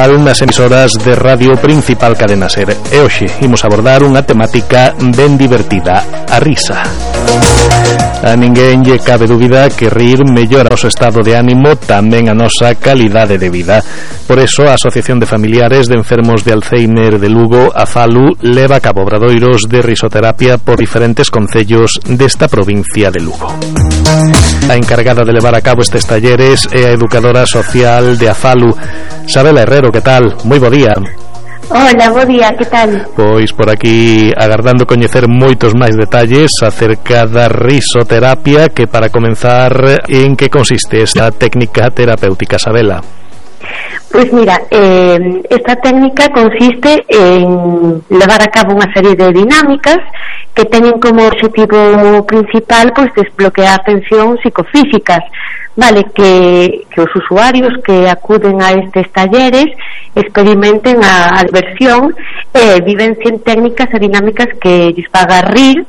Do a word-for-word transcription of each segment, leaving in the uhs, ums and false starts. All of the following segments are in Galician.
habitual nas emisoras de Radio Principal Cadena Ser. E hoxe imos abordar unha temática ben divertida, a risa. A ninguén lle cabe dúbida que rir mellora o noso estado de ánimo, tamén a nosa calidade de vida. Por eso, a Asociación de Familiares de Enfermos de Alzheimer de Lugo, a FALU, leva a cabo obradoiros de risoterapia por diferentes concellos desta provincia de Lugo. A encargada de levar a cabo estes talleres é a educadora social de a FALU, Sabela Herrero. Que tal? Moi bo día. Hola, bo día, que tal? Pois por aquí agardando coñecer moitos máis detalles acerca da risoterapia, que para comenzar, en que consiste esta técnica terapéutica, Sabela? Pois mira, eh, esta técnica consiste en levar a cabo unha serie de dinámicas que teñen como objetivo principal pois desbloquear tensións psicofísicas, vale, que, que os usuarios que acuden a estes talleres experimenten a, a diversión e eh, vivencien técnicas e dinámicas que lles faga rir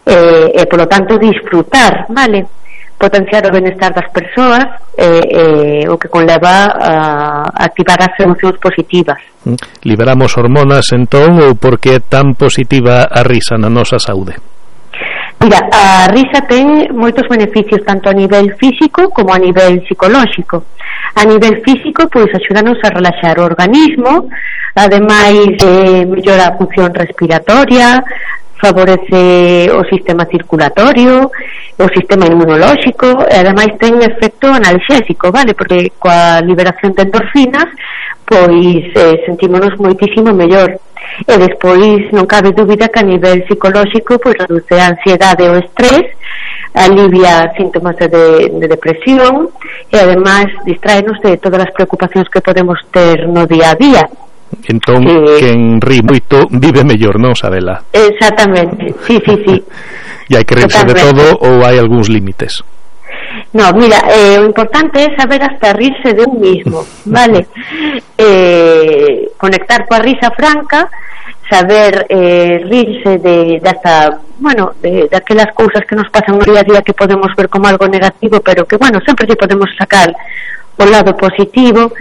eh, e, polo tanto, disfrutar, vale, potenciar o benestar das persoas, eh, eh, o que conleva a activar as emocións positivas. Liberamos hormonas, entón, ou por que é tan positiva a risa na nosa saúde? Mira, a risa ten moitos beneficios tanto a nivel físico como a nivel psicolóxico. A nivel físico, pois, axúdanos a relaxar o organismo, ademais eh, mellora a función respiratoria, favorece o sistema circulatorio, o sistema inmunolóxico, e ademais ten efecto analxésico, vale, porque coa liberación de endorfinas pois eh, sentímonos moitísimo mellor. E despois non cabe dúbida que a nivel psicolóxico pois reduce a ansiedade e o estrés, alivia síntomas de, de depresión e ademais distráenos de todas as preocupacións que podemos ter no día a día. Entón, eh, quen ri moito vive mellor, non, Sabela? Exactamente, sí, sí, sí. E hai que rirse de todo ou hai algúns límites? No, mira, eh, o importante é saber hasta rirse de un mismo, vale? Eh, conectar coa risa franca, saber eh, rirse de, de hasta, bueno, de, de aquelas cousas que nos pasan no día a día que podemos ver como algo negativo, pero que, bueno, sempre lle podemos sacar o lado positivo.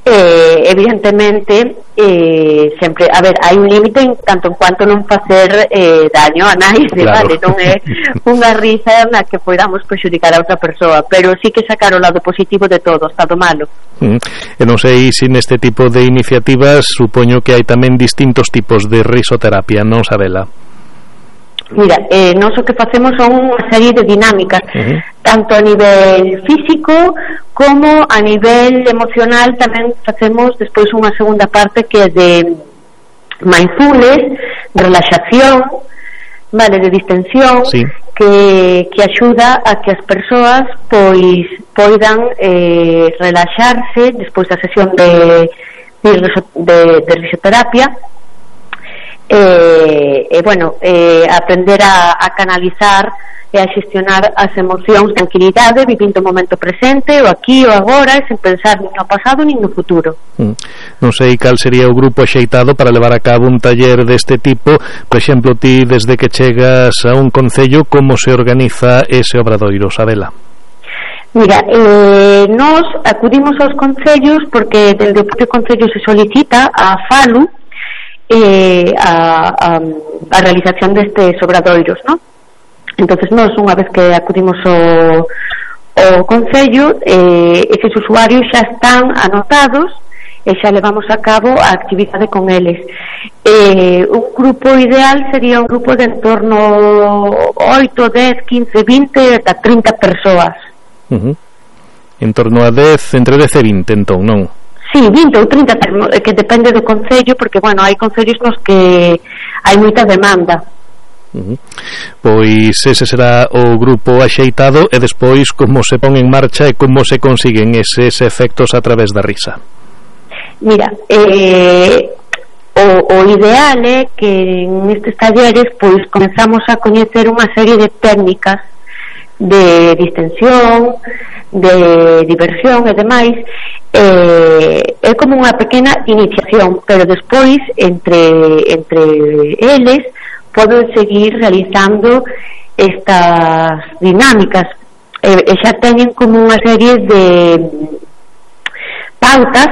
Eh, evidentemente eh, sempre, a ver, hai un límite en tanto en cuanto non facer eh, daño a naide, claro. Vale, non é unha risa na que podamos prexudicar a outra persoa, pero sí que sacar o lado positivo de todo, hasta do malo. Mm. E non sei se neste tipo de iniciativas supoño que hai tamén distintos tipos de risoterapia, non, Sabela? Mira, eh, nós o que facemos son unha serie de dinámicas, uh-huh. tanto a nivel físico como a nivel emocional. Tamén facemos despois unha segunda parte que é de mindfulness, de relaxación, vale, de distensión, sí. que, que axuda a que as persoas pois poidan eh, relaxarse despois da sesión de, de, de, de risoterapia. E, e bueno, eh, aprender a, a canalizar e a xestionar as emocións, tranquilidade, vivindo o momento presente, o aquí, o agora, sen pensar nin no pasado nin no futuro. Mm. Non sei cal sería o grupo axeitado para levar a cabo un taller deste tipo. Por exemplo, ti, desde que chegas a un concello, como se organiza ese obradoiro, Sabela? Mira, eh, nós acudimos aos concellos porque dende o propio concello se solicita a FALU Eh, a, a, a realización destes obradoiros, ¿no? Entonces nós, unha vez que acudimos ao, ao concello, eh, eses usuarios xa están anotados e xa levamos a cabo a actividade con eles. Eh, un grupo ideal sería un grupo de en torno oito, dez, quince, vinte ata trinta persoas. Uh-huh. En torno a dez, entre dez e vinte, entón, non? Sí, vinte ou trinta, que depende do concello, porque, bueno, hai concellos nos que hai moita demanda. Uh-huh. Pois ese será o grupo axeitado. E despois, como se pon en marcha e como se consiguen eses efectos a través da risa? Mira, eh, o, o ideal é que nestes talleres pois comenzamos a coñecer unha serie de técnicas de distensión, de diversión e demais. Eh, é como unha pequena iniciación, pero despois entre, entre eles poden seguir realizando estas dinámicas e, e xa teñen como unha serie de pautas